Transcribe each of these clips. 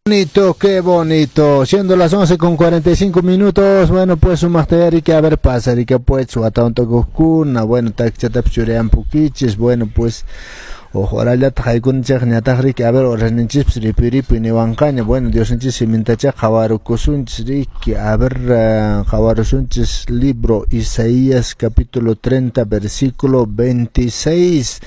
Bonito, qué bonito. Siendo las 11:45. Bueno, pues sumaqta que a ver pasa, que pues kuna, bueno, takchatapis churayanpukichis, bueno, pues huk horallataq haykunchik ñataq riki, a ver, horasninchispis ripuy ripuy niwanqaña. Bueno, Diosninchis simintachá qhawarukusunchis riki, a ver, qhawarusunchis libro Isaías capítulo 30 versículo 26.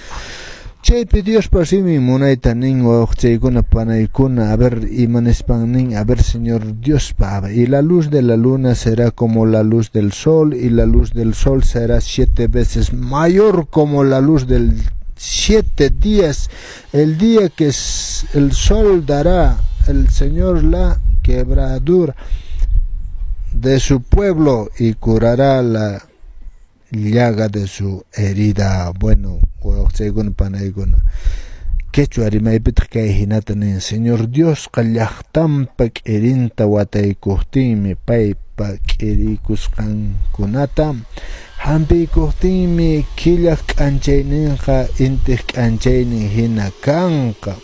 Chaypi Diospa simin munayta nin, wawqichaykuna panaykuna, a ver, imanispan nin, a ver, Señor Diospa: "Y la luz de la luna será como la luz del sol, y la luz del sol será siete veces mayor como la luz del 7 días, el día que el sol dará el Señor la quebradura de su pueblo y curará la llaga de su herida". Bueno, wawqichaykuna panaykuna, quechua rimaypitaq kay hinata nin: Señor Diosqa llaqtanpa k'irinta wataykuqtinmi, paypa k'irikusqankunata hampiykuqtinmi, killaq k'anchayninqa intiq k'anchaynin hina kanqa.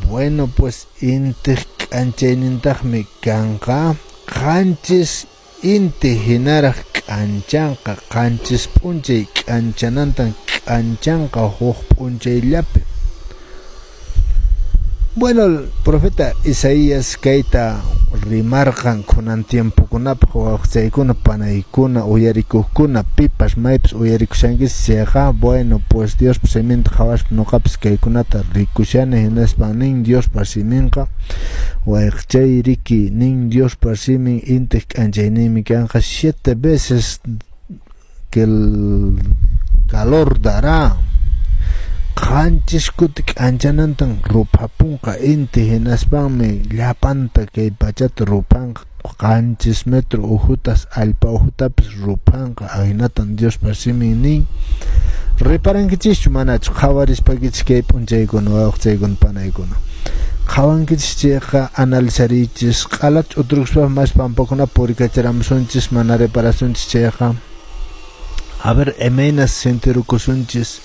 Bueno, pues intiq k'anchaynintaqmi kanqa, 7 inti hinaraq k'anchanqa, 7 p'unchay k'anchanantan k'anchanqa huk p'unchayllapi. Bueno, el profeta Isaías kayta rimarqan kunan tiempokunapaq, wawqichaykuna panaykuna, uyarikuqkuna, pipas maypis uyarikushankichis chayqa, bueno, pues Diospa siminta qhawaspa ñuqapis kaykunata rikushani. Hinaspan nin Diospa siminqa, wayqichay, riki, nin Diospa simin intiq k'anchayninmi kanqa, siete veces que el calor dará, 7 kuti k'anchanantan ruphapunqa inti, hinaspanmi llapanta kay pachata ruphanqa, 7 metro ukhutas allpa ukhutapis ruphanqa. Ahinatan Diospa simin nin. Reparankichischu manachu qhawarispakichis kay p'unchaykuna, wawqichaykuna panaykuna? Qhawankichis chayqa analizariychis. Q'alata ch'uturkuspa mas pampakuna purikacharamusunchis, mana reparasunchis chayqa, a ver, imaynas sentirukusunchis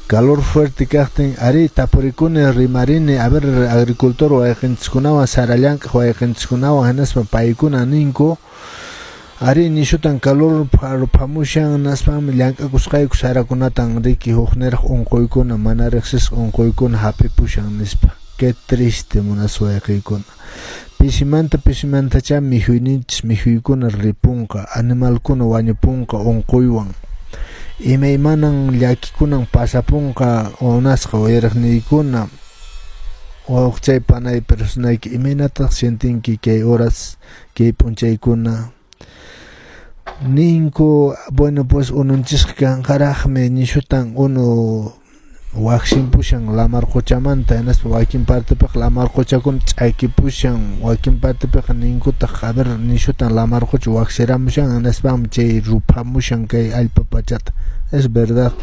calor fuerte kaqtin. Ari, tapurikuni, rimarini, a ver, agricultor wayqinchiskunawan, sara llank'aq wayqinchiskunawan, hinaspa paykuna ninku: "Ari, nishutan calor ruphamushan, hinaspanmi llank'akusqayku sarakunatan riki huk niraq unquykuna, mana riqsisqa unquykuna hap'ipushan", nispa. Qué triste, munasqa wayqiykuna. Pisimanta pisimantachá mikhuyninchis mikhuykuna ripunqa, animalkuna wañupunqa unquywan, imaymanan llakikunan pasapunqa. Munasqa uyariqniykuna, wawqichay, panay, personayki, imaynataq sientinki kay horas, kay p'unchaykuna? Ninku, bueno, pues ununchisqa kanqaraqmi, nishutan unu waqsimpushan lamar quchamanta, hinaspa wakin partepiqa lamar quchakuna ch'akipushan, wakin partepiqa ninkutaq, a ver, nishutan lamar qucha waqsiramushan, hinaspanmi chay ruphamushan kay allpa pachata. Es verdad.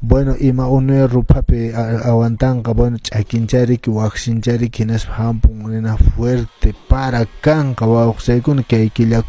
Bueno, ima unuya ruphapi aguantanqa? Bueno, ch'akinchariki, waqsinchariki, hinaspa hampun nina fuerte para kanqa, wawqichaykuna, kay killakuna.